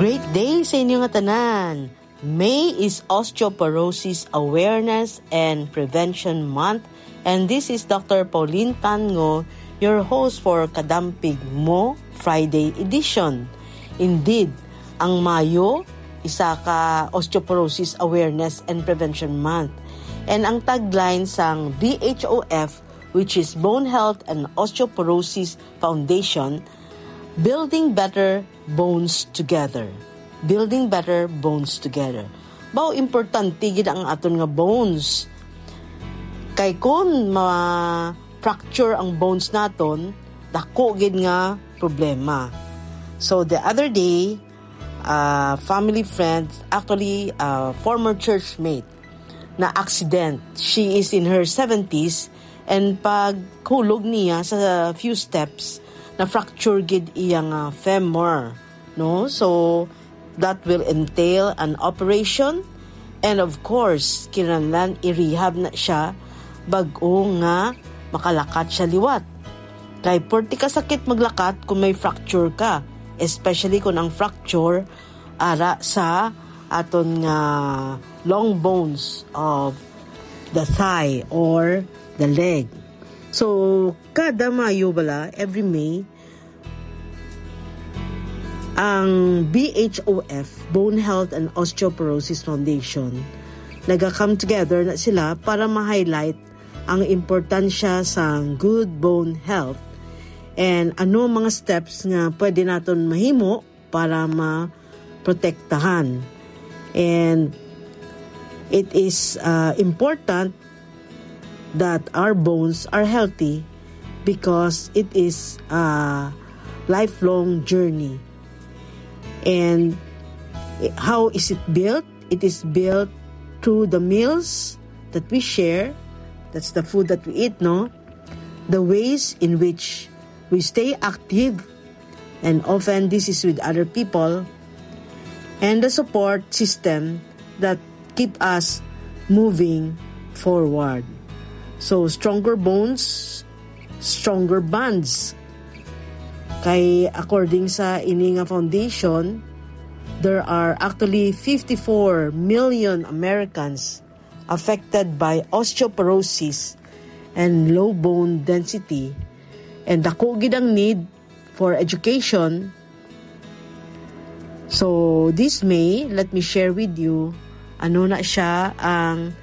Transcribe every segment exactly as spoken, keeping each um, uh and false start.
Great day sa inyo nga tanan! May is Osteoporosis Awareness and Prevention Month, and this is Doctor Pauline Tango, your host for Kadampig Mo Friday edition. Indeed, ang Mayo, isa ka Osteoporosis Awareness and Prevention Month. And ang tagline sang B H O F, which is Bone Health and Osteoporosis Foundation, Building Better Bones Together. Building Better Bones Together. Baw, importante gid ang aton nga bones. Kay kun ma-fracture ang bones naton, dako gid nga problema. So the other day, a family friend, actually a former churchmate, na accident. She is in her seventies, and paghulog niya sa few steps, na-fracture gid iyang, ah, femur, no? So, that will entail an operation, and of course, kinahanglan i-rehab na siya bag-o nga makalakat siya liwat. Kay porti ka sakit maglakat kung may fracture ka, especially kung ang fracture ara sa aton nga long bones of the thigh or the leg. So, kada Mayo bala, every May, ang B H O F, Bone Health and Osteoporosis Foundation, naga-come together na sila para ma-highlight ang importansya sa good bone health and ano mga steps nga pwede naton mahimo para maprotektahan. And it is, uh, important that our bones are healthy because it is a lifelong journey. And how is it built? It is built through the meals that we share. That's the food that we eat, no? The ways in which we stay active, and often this is with other people, and the support system that keep us moving forward. So, stronger bones, stronger bonds. Kay according sa ini nga foundation, there are actually fifty-four million Americans affected by osteoporosis and low bone density, and dako gid ang need for education. So, this May, let me share with you ano na siya ang,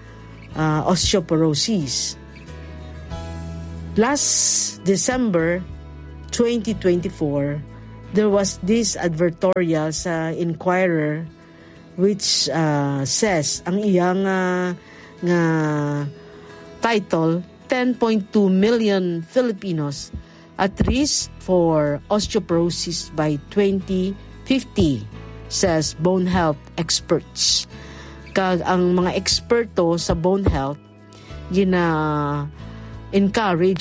ah, osteoporosis. Last December twenty twenty-four, there was this advertorial sa Inquirer which, ah, says, ang iyang, ah, nga title, ten point two million Filipinos at risk for osteoporosis by twenty fifty, says bone health experts. Kag ang mga eksperto sa bone health gina-encourage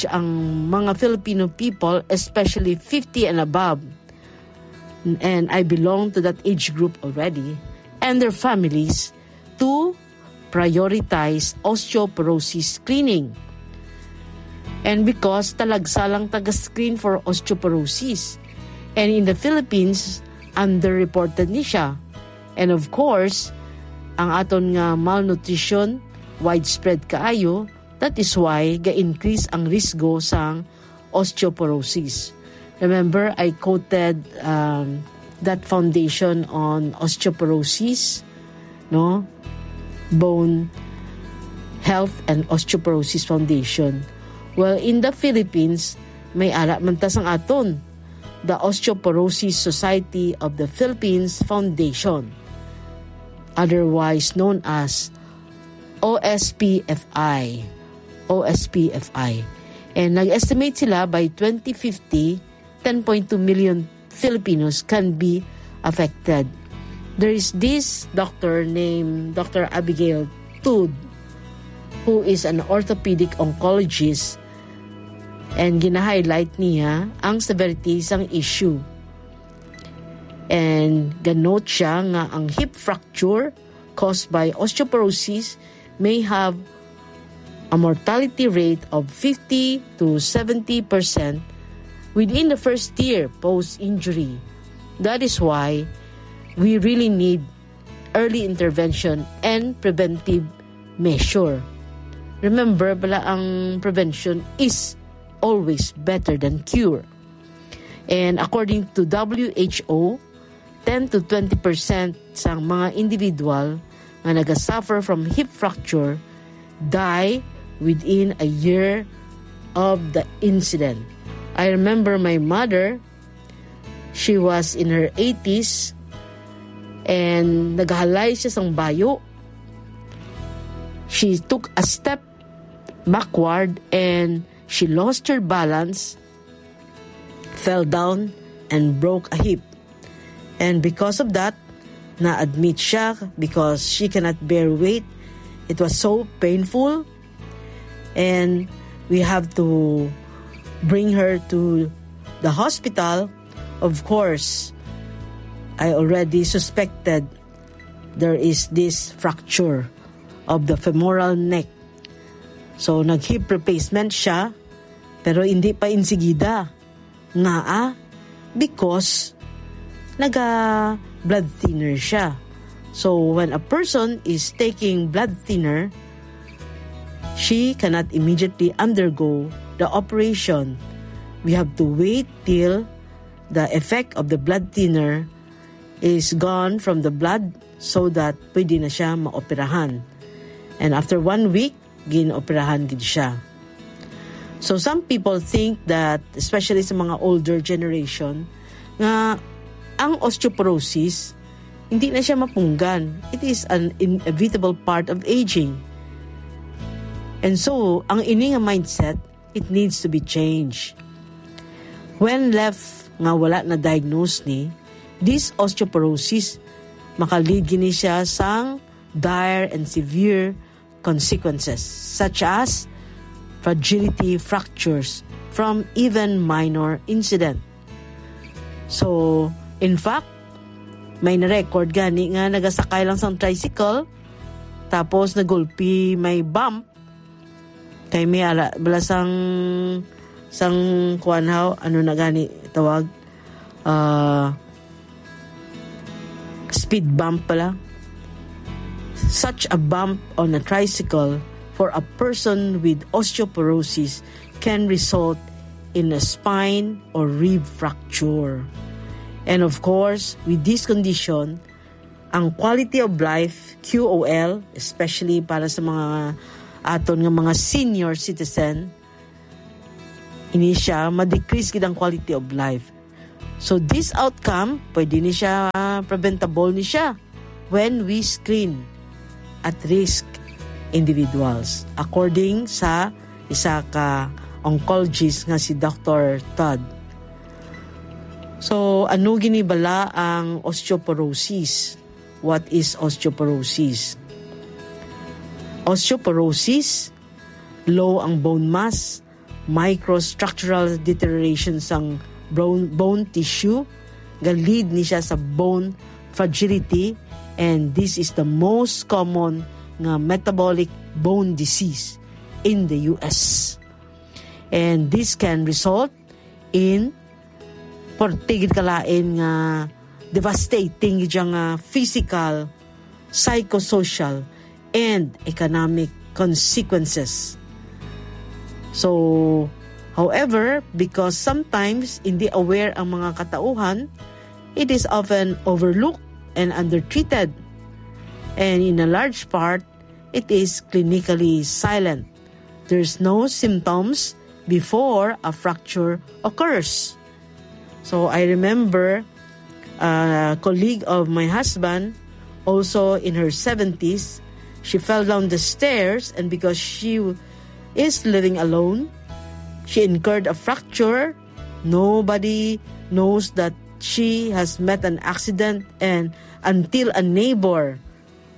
ang mga Filipino people, especially fifty and above, and I belong to that age group already, and their families to prioritize osteoporosis screening. And because talagsa lang taga-screen for osteoporosis, and in the Philippines, underreported ni siya. And of course, ang aton nga malnutrition, widespread kaayo, that is why ga-increase ang risgo sang osteoporosis. Remember, I quoted, um, that foundation on osteoporosis, no? Bone Health and Osteoporosis Foundation. Well, in the Philippines, may ara man ta sang aton, the Osteoporosis Society of the Philippines Foundation, otherwise known as O S P F I. O S P F I. And nag-estimate sila by twenty fifty, ten point two million Filipinos can be affected. There is this doctor named Doctor Abigail Tud, who is an orthopedic oncologist, and gina-highlight niya ang severity sang issue. And ga-note siya nga ang hip fracture caused by osteoporosis may have a mortality rate of fifty to seventy percent within the first year post-injury. That is why we really need early intervention and preventive measure. Remember, bala, ang prevention is always better than cure. And according to W H O, ten to twenty percent sang mga individual nga nagasuffer from hip fracture die within a year of the incident. I remember my mother, she was in her eighties, and naghalay siya sang bayo. She took a step backward and she lost her balance, fell down, and broke a hip. And because of that, na-admit siya because she cannot bear weight. It was so painful, and we have to bring her to the hospital. Of course, I already suspected there is this fracture of the femoral neck. So, nag-hip replacement siya, pero hindi pa insigida. Ngaa? Because naga blood thinner siya. So, when a person is taking blood thinner, she cannot immediately undergo the operation. We have to wait till the effect of the blood thinner is gone from the blood so that pwede na siya maoperahan. And after one week, gin-operahan gid siya. So some people think that, especially sa mga older generation, nga ang osteoporosis, hindi na siya mapunggan. It is an inevitable part of aging. And so, ang ini nga mindset, it needs to be changed. When left nga wala na diagnose ni, this osteoporosis, makalead gini siya sang dire and severe consequences, such as fragility, fractures from even minor incident. So, in fact, may na-record gani nga nagasakay lang sang tricycle, tapos nagulpi, may bump, kay may ara, bala sang, sang kuwan haw, ano na gani tawag? Ah, speed bump pala. Such a bump on a tricycle for a person with osteoporosis can result in a spine or rib fracture. And of course, with this condition, ang quality of life, Q O L, especially para sa mga aton nga mga senior citizen, ini siya, ma-decrease gid ang quality of life. So this outcome, pwede ni siya, ah, preventable ni siya when we screen at risk individuals, according sa isa ka oncologist nga si Doctor Todd. So, ano gini bala ang osteoporosis? What is osteoporosis? Osteoporosis, low ang bone mass, microstructural deterioration sang bone, bone tissue, ga-lead ni siya sa bone fragility, and this is the most common nga metabolic bone disease in the U S. And this can result in portigid kalain nga devastating gid nga physical, psychosocial, and economic consequences. So, however, because sometimes hindi aware ang mga katauhan, it is often overlooked and undertreated. And in a large part, it is clinically silent. There's no symptoms before a fracture occurs. So I remember a colleague of my husband, also in her seventies, she fell down the stairs, and because she is living alone, she incurred a fracture. Nobody knows that she has met an accident, and until a neighbor,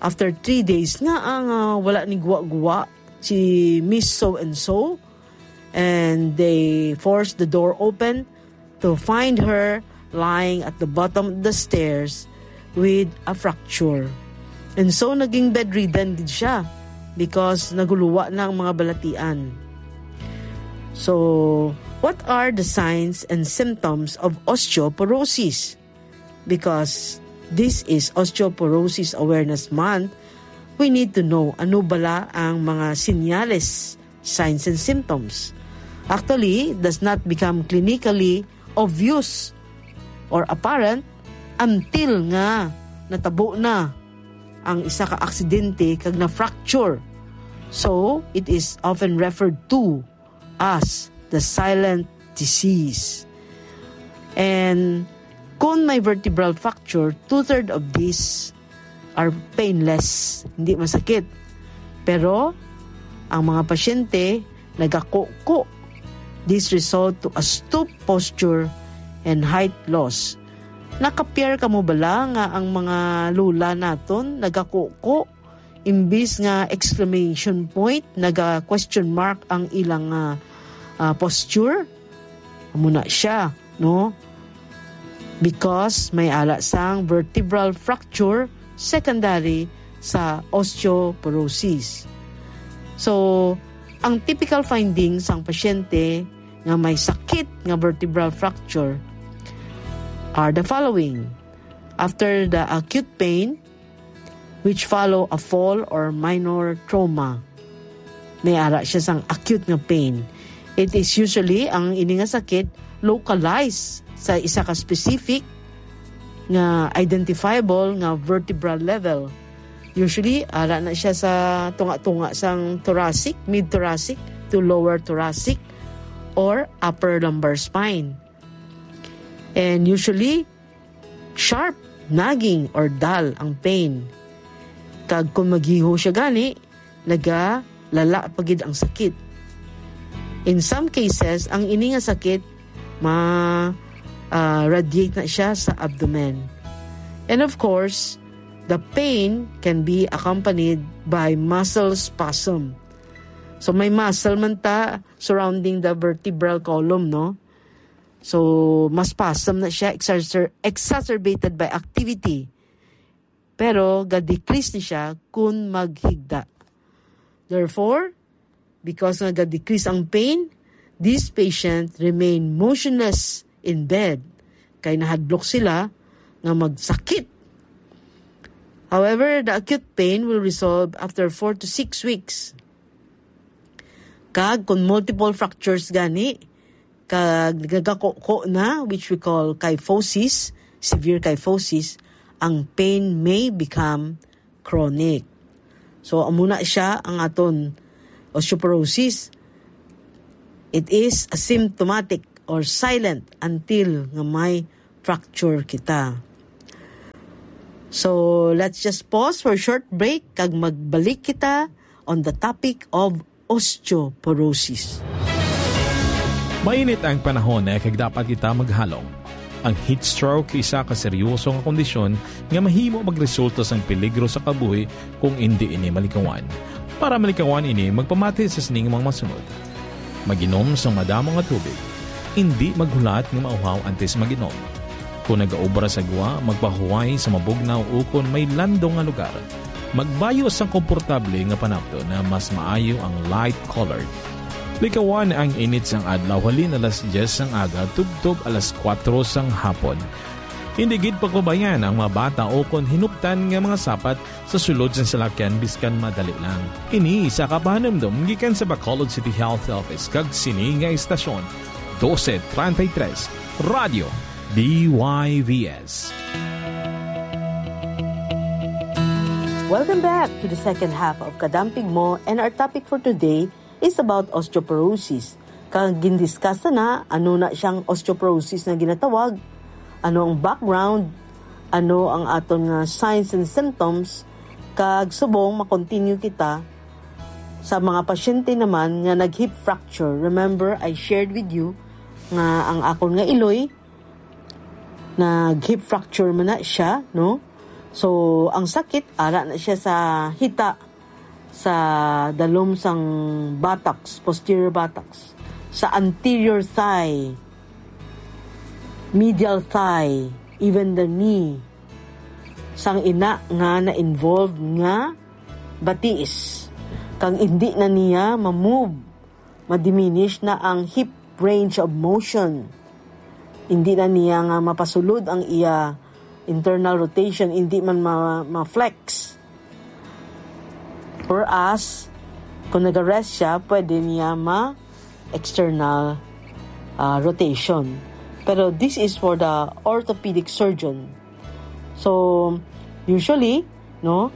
after three days, nga ang, ah, wala ni guwa-guwa si Miss So and So, and they forced the door open to find her lying at the bottom of the stairs with a fracture. And so, naging bedridden gid siya because naguluwa na ang mga balatian. So, what are the signs and symptoms of osteoporosis? Because this is Osteoporosis Awareness Month, we need to know ano bala ang mga sinyales, signs and symptoms. Actually, it does not become clinically obvious or apparent until nga natabo na ang isa ka aksidente kag na-fracture. So, it is often referred to as the silent disease. And kung may vertebral fracture, two-third of these are painless, hindi masakit. Pero ang mga pasyente nagakuko. This result to a stoop posture and height loss. Nakapiar ka mo bala nga ang mga lula naton nagakuko imbis nga exclamation point, naga question mark ang ilang ah, ah, posture? Amo na siya, no? Because may ala sang vertebral fracture secondary sa osteoporosis. So, ang typical findings sang pasyente nga may sakit nga vertebral fracture are the following. After the acute pain, which follow a fall or minor trauma. May ara siya sang acute nga pain. It is usually, ang ini nga sakit, localized sa isa ka specific nga identifiable nga vertebral level. Usually, ara na siya sa tunga-tunga sang thoracic, mid-thoracic to lower thoracic or upper lumbar spine. And usually, sharp, nagging, or dull ang pain. Kag kung magiho siya gani, nagalala pa gid ang sakit. In some cases, ang ini nga sakit ma ah, radiate na siya sa abdomen. And of course, the pain can be accompanied by muscle spasm. So may muscle man ta surrounding the vertebral column, no? So, mas spasm na siya, exacer- exacerbated by activity. Pero ga-decrease ni siya kun maghigda. Therefore, because nga ga-decrease ang pain, this patient remain motionless in bed kay nahadlok sila nga magsakit. However, the acute pain will resolve after four to six weeks. Kag kung multiple fractures gani, kag nagakuko na, which we call kyphosis, severe kyphosis, ang pain may become chronic. So, amo na siya ang aton osteoporosis. It is asymptomatic or silent until nga may fracture kita. So, let's just pause for a short break kag magbalik kita on the topic of osteoporosis. Mainit ang panahon, eh, kag dapat kita maghalong. Ang heat stroke isa ka seryoso nga kondisyon nga mahimo magresulta sang peligro sa kabuhi kung indi ini malikawan. Para malikawan ini, magpamati sa sining mga masunod. Mag-inom sang madamo nga tubig. Indi maghulat nga mauhaw antes mag-inom. Kung nagaobra sa gwa, magpahuway sa mabugnaw ukon may landong nga lugar. Magbayo sang komportable nga panapton na mas maayo ang light colored. Likawan ang init sang adlaw halin alas diyes sang aga tubtob alas kuwatro sang hapon. Indi gid pagpabayan ang mga bata ukon hinuptan nga mga sapat sa sulod sang salakyan biskan madali lang. Ini isa ka pahanumdom gikan sa Bacolod City Health Office kag sini nga istasyon, doce treinta y tres, Radyo D Y V S. Welcome back to the second half of Kadampig Mo, and our topic for today is about osteoporosis. Kag gindiscuss na ano na siyang osteoporosis nga ginatawag, ano ang background, ano ang aton nga signs and symptoms, kag subong ma-continue kita sa mga pasyente naman nga nag-hip fracture. Remember, I shared with you nga ang akon nga iloy nag-hip fracture man na siya, no? So, ang sakit, ara na siya sa hita, sa dalom sang buttocks, posterior buttocks, sa anterior thigh, medial thigh, even the knee. Sang ina nga na-involved nga batiis, kang indi na niya ma-move, ma-diminish na ang hip range of motion. Indi na niya nga mapasulod ang iya internal rotation, hindi man ma-, ma-flex. Whereas, kung nag-rest siya, pwede niya ma-external, ah, rotation. Pero this is for the orthopedic surgeon. So, usually, no,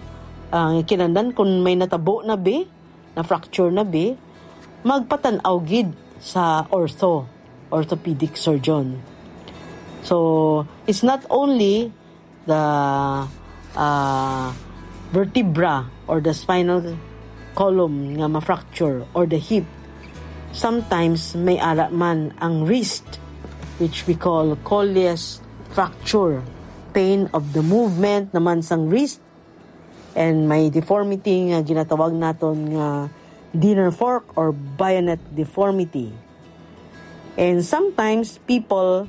ang kinahanglan kung may natabo na bi, na fracture na bi, magpatan-aw gid sa ortho, orthopedic surgeon. So, it's not only the, ah, vertebra or the spinal column nga ma-fracture or the hip. Sometimes may ara man ang wrist, which we call Colles fracture, pain of the movement naman sang wrist, and may deformity nga ginatawag naton nga dinner fork or bayonet deformity. And sometimes people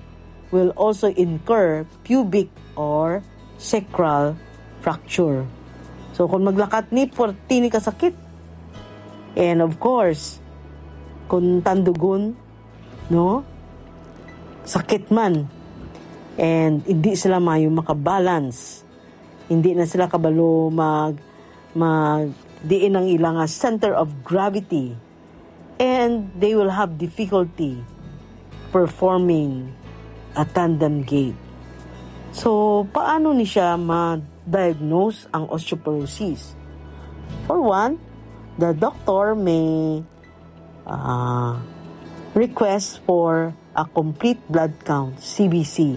will also incur pubic or sacral fracture. So, kung maglakat ni, pwerte ni kasakit. And of course, kung tandugon, no? Sakit man. And hindi sila mayo makabalance. Hindi na sila kabalo mag, mag, diin ang ila nga center of gravity. And they will have difficulty performing a tandem gait. So, paano ni siya ma-diagnose ang osteoporosis? For one, the doctor may, ah, request for a complete blood count, C B C.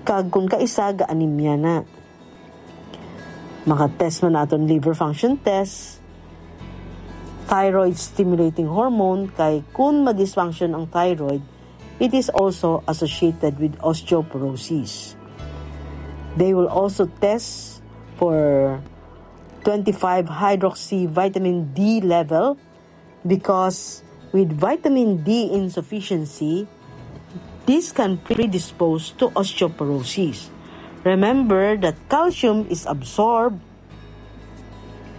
Kag kung kaisa, ga-anemia na. Maka-test man naton liver function test, thyroid stimulating hormone, kay kun ma-dysfunction ang thyroid, it is also associated with osteoporosis. They will also test for twenty-five hydroxy vitamin D level, because with vitamin D insufficiency, this can predispose to osteoporosis. Remember that calcium is absorbed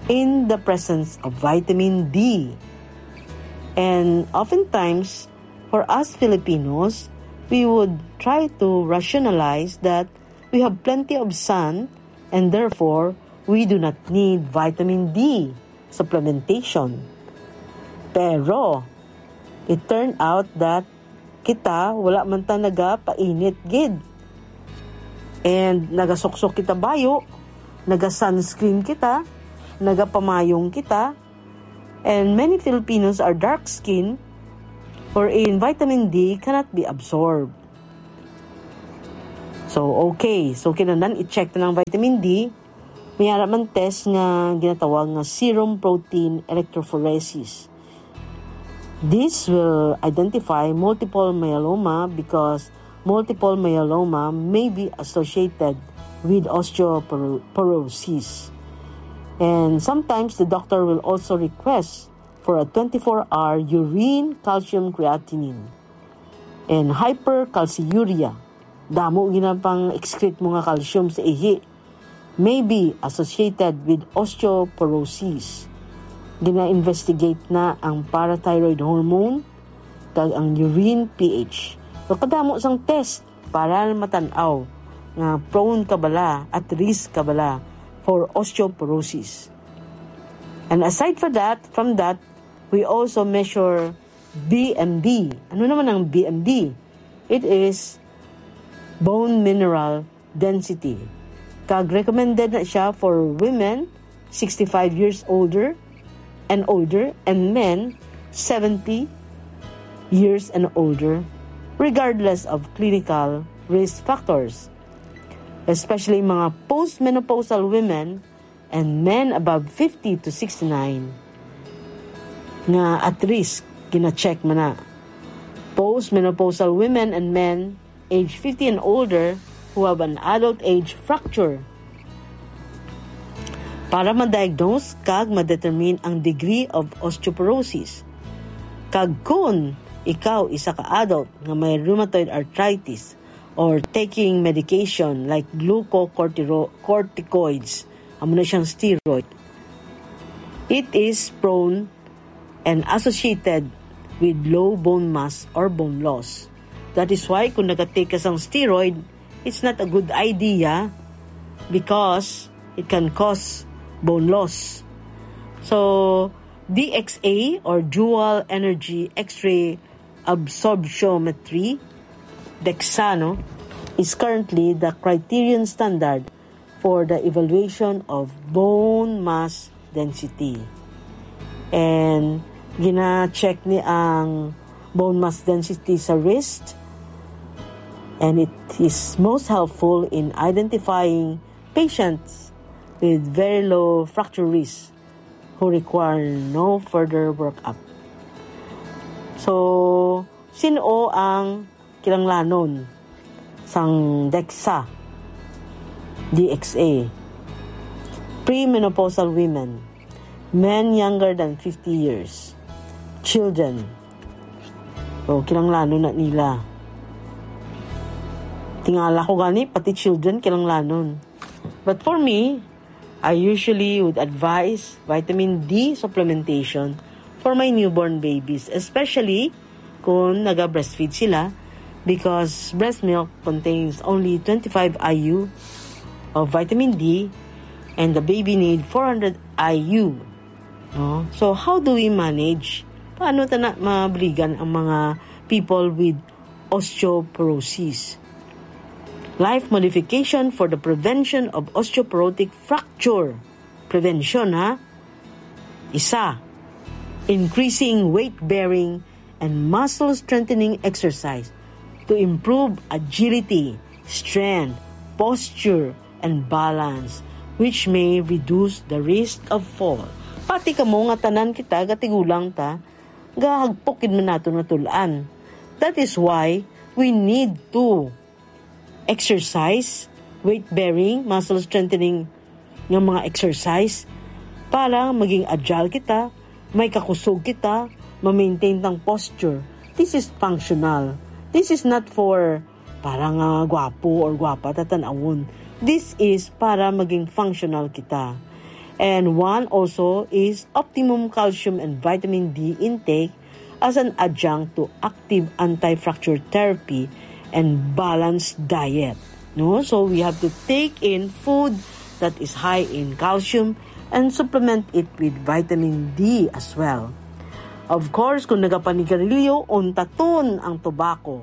in the presence of vitamin D. And oftentimes, for us Filipinos, we would try to rationalize that we have plenty of sun and therefore we do not need vitamin D supplementation. Pero, it turned out that kita, wala man ta nagapainit gid. And nagasuksok kita bayo, naga-sunscreen kita, nagapamayong kita. And many Filipinos are dark skin, wherein vitamin D cannot be absorbed. So, okay. So, kinahanglan i-check na ang vitamin D. May ara man test nga ginatawag nga serum protein electrophoresis. This will identify multiple myeloma because multiple myeloma may be associated with osteoporosis. And sometimes the doctor will also request for a twenty-four hour urine calcium creatinine and hypercalciuria. Damo gina pang excrete mo nga calcium sa ihi. May be associated with osteoporosis. Gina-investigate na ang parathyroid hormone kag ang urine pH. So, kadamo sang test para matan-aw nga prone ka bala, at risk ka bala for osteoporosis. And aside for that, from that, we also measure B M D. Ano naman ang B M D? It is bone mineral density. Kag recommended na siya for women sixty-five years older and older and men seventy years and older, regardless of clinical risk factors, especially mga postmenopausal women and men above fifty to sixty-nine nga at risk, gina-check man na. Postmenopausal women and men age fifty and older who have an adult age fracture para ma-diagnose kag ma-determine ang degree of osteoporosis. Kag kun ikaw isa ka adult nga may rheumatoid arthritis or taking medication like glucocorticoids, amo na siyang steroid, it is prone and associated with low bone mass or bone loss. That is why kung nag-take ka sang steroid, it's not a good idea because it can cause bone loss. So, D X A or dual energy X-ray absorptiometry, DEXA, no, is currently the criterion standard for the evaluation of bone mass density. And gina-check ni ang bone mass density sa wrist, and it is most helpful in identifying patients with very low fracture risk who require no further workup. So, sino ang kinahanglanon sang DEXA, D X A? Premenopausal women, men younger than fifty years, children. O, kinahanglanon na nila. Tingala ko gani, pati children kinahanglanon. But for me, I usually would advise vitamin D supplementation for my newborn babies, especially kung naga-breastfeed sila, because breast milk contains only twenty-five I U of vitamin D and the baby need four hundred I U. No? So, how do we manage? Paano ta na mabuligan ang mga people with osteoporosis? Life modification for the prevention of osteoporotic fracture. Prevention, ha? Isa, increasing weight-bearing and muscle-strengthening exercise to improve agility, strength, posture, and balance, which may reduce the risk of fall. Pati kamo nga tanan kita, gatigulang ta, gahagpok gid man naton nga tul-an. That is why we need to exercise, weight-bearing, muscle strengthening nga mga exercise para maging agile kita, may kakusog kita, ma-maintain tang posture. This is functional. This is not for para nga gwapo or gwapa ta tan-awon. This is para maging functional kita. And one also is optimum calcium and vitamin D intake as an adjunct to active anti-fracture therapy and balanced diet. No? So we have to take in food that is high in calcium and supplement it with vitamin D as well. Of course, kung nagapanigarilyo, untaton ang tobacco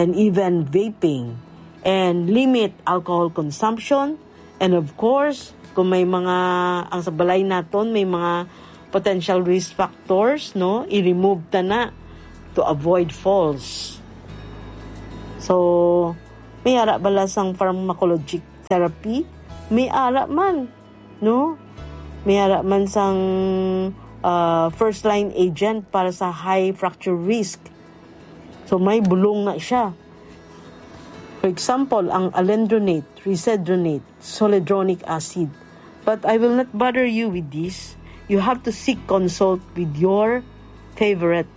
and even vaping, and limit alcohol consumption. And of course, kung may mga, ang sa balay naton, may mga potential risk factors, no? I-remove ta na to avoid falls. So, may ara bala sang pharmacologic therapy? May ara man, no? May ara man sang, ah, first line agent para sa high fracture risk. So, may bulong na siya. For example, ang alendronate, risedronate, zoledronic acid. But I will not bother you with this. You have to seek consult with your favorite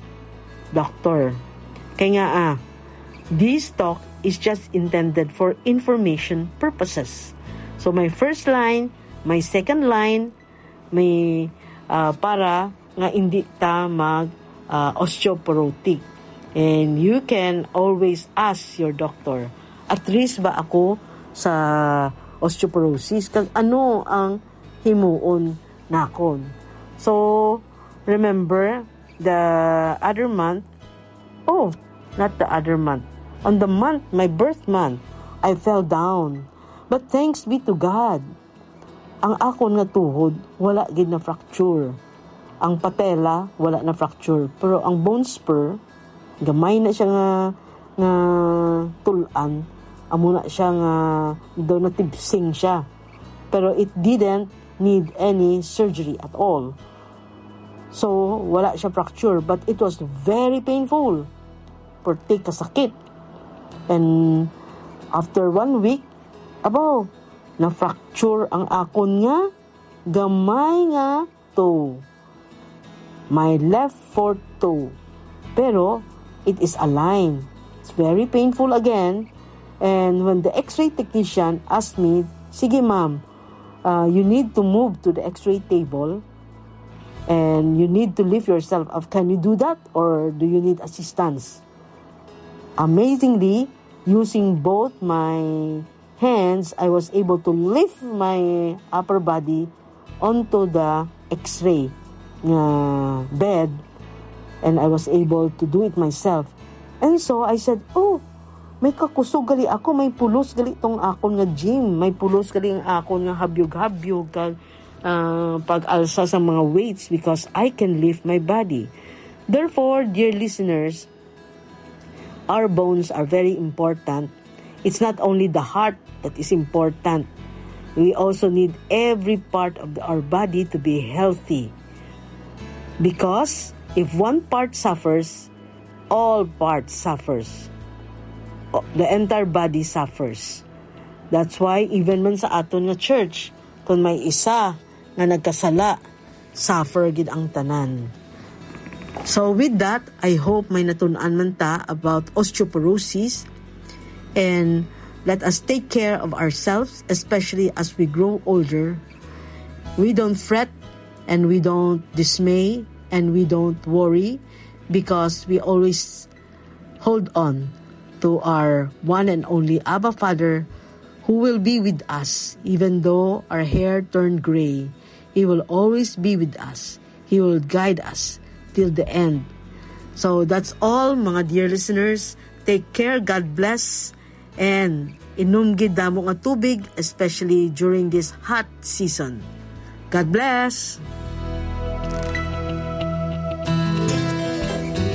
doctor. Kaya nga, ah, this talk is just intended for information purposes. So, my first line, my second line, may, ah, para nga hindi ta mag, ah, osteoporotic. And you can always ask your doctor, "At risk ba ako sa osteoporosis? Kag ano ang himuon nakon?" So, remember, the other month, oh, not the other month. On the month, my birth month, I fell down. But thanks be to God, ang akon nga tuhod wala gid na fracture. Ang patella wala na fracture, pero ang bone spur, gamay na siya nga, nga tul-an, amo na siya nga daw natipsing siya. Pero it didn't need any surgery at all. So, wala siya fracture, but it was very painful. Perti kasakit. And after one week, abaw, na-fracture ang akon nga gamay nga toe. My left fourth toe. Pero, it is aligned. It's very painful again. And when the x-ray technician asked me, "Sige, ma'am, uh, you need to move to the x-ray table and you need to lift yourself up. Can you do that or do you need assistance?" Amazingly, using both my Hence, I was able to lift my upper body onto the X-ray nga bed, and I was able to do it myself. And so I said, "Oh, may kakusog gali ako, may pulos gali tong akon nga gym, may pulos gali ang akon nga habyog-habyog kag, ah, pag-alsa sa mga weights because I can lift my body." Therefore, dear listeners, our bones are very important. It's not only the heart that is important. We also need every part of the, our body to be healthy. Because if one part suffers, all parts suffers. O, the entire body suffers. That's why even man sa aton nga church, kung may isa nga nagkasala, suffer gid ang tanan. So with that, I hope may natun-an man ta about osteoporosis, and let us take care of ourselves, especially as we grow older. We don't fret and we don't dismay and we don't worry because we always hold on to our one and only Abba Father, who will be with us even though our hair turned gray. He will always be with us. He will guide us till the end. So that's all, mga dear listeners. Take care. God bless. And inom gid damo nga tubig, especially during this hot season. God bless.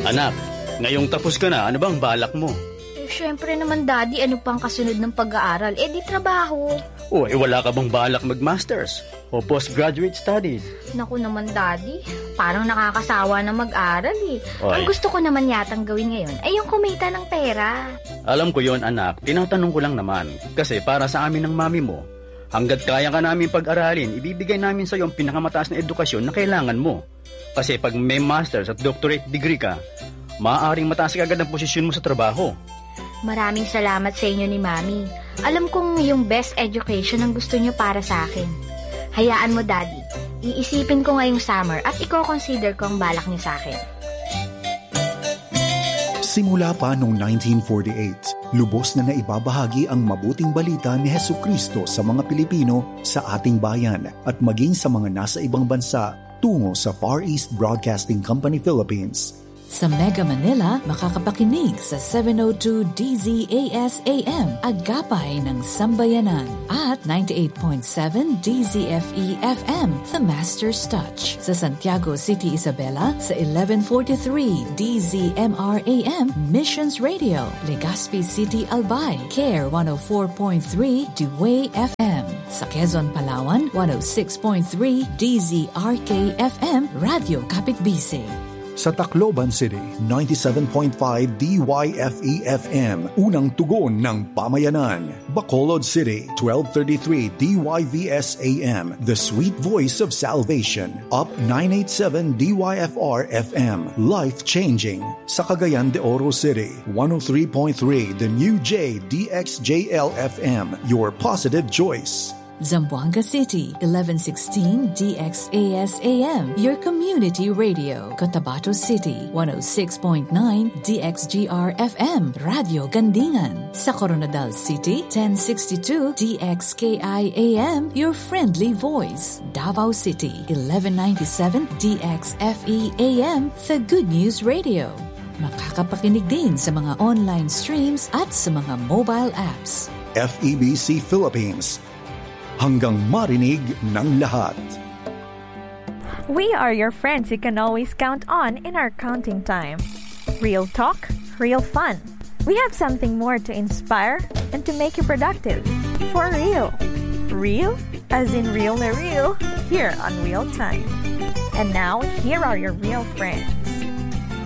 Anak, ngayong tapos ka na, ano bang balak mo? Eh, syempre naman, Daddy, ano pang kasunod ng pag-aaral? Eh, di trabaho. O, eh, wala ka bang balak mag-masters? O postgraduate studies? Naku naman, Daddy. Parang nakakasawa na mag-aral eh. Oy. Ang gusto ko naman yatang gawin ngayon ay yung kumita ng pera. Alam ko yon, anak. Tinatanong ko lang naman. Kasi para sa amin ng mami mo, hanggat kaya ka namin pag-aralin, ibibigay namin sa iyo ang pinakamataas na edukasyon na kailangan mo. Kasi pag may master's at doctorate degree ka, maaaring mataas agad ang posisyon mo sa trabaho. Maraming salamat sa inyo ni Mami. Alam kong yung best education ang gusto niyo para sa akin. Hayaan mo, Daddy. Iisipin ko ngayong summer at iko-consider ko ang balak niyo sa akin. Simula pa noong nineteen forty-eight, lubos na naibabahagi ang mabuting balita ni Jesucristo sa mga Pilipino sa ating bayan at maging sa mga nasa ibang bansa tungo sa Far East Broadcasting Company Philippines. Sa Mega Manila, makakapakinig sa seven oh two D Z A S A M, Agapay ng Sambayanan, at ninety-eight point seven D Z F E F M, The Master's Touch. Sa Santiago City, Isabela, sa eleven forty-three D Z M R A M, Missions Radio, Legazpi City, Albay, Care one oh four point three D W F M. Sa Quezon, Palawan, one oh six point three D Z R K F M, Radyo Kapitbisig. Sa Tacloban City, ninety-seven point five D Y F E F M, Unang Tugon ng Pamayanan. Bacolod City, twelve thirty-three D Y V S A M, The Sweet Voice of Salvation. Up nine eight seven D Y F R F M, Life Changing. Sa Cagayan de Oro City, one oh three point three The New J D X J L F M, Your Positive Choice. Zamboanga City, eleven sixteen D X A S A M, your community radio. Cotabato City, one oh six point nine D X G R F M, Radio Gandingan. Sa Koronadal City, ten sixty-two D X K I A M, your friendly voice. Davao City, eleven ninety-seven D X F E A M, The Good News Radio. Makakapakinig din sa mga online streams at sa mga mobile apps. F E B C Philippines, hanggang marinig ng lahat. We are your friends you can always count on in our counting time. Real talk, real fun. We have something more to inspire and to make you productive. For real. Real? As in real na real? Here on Real Time. And now, here are your real friends.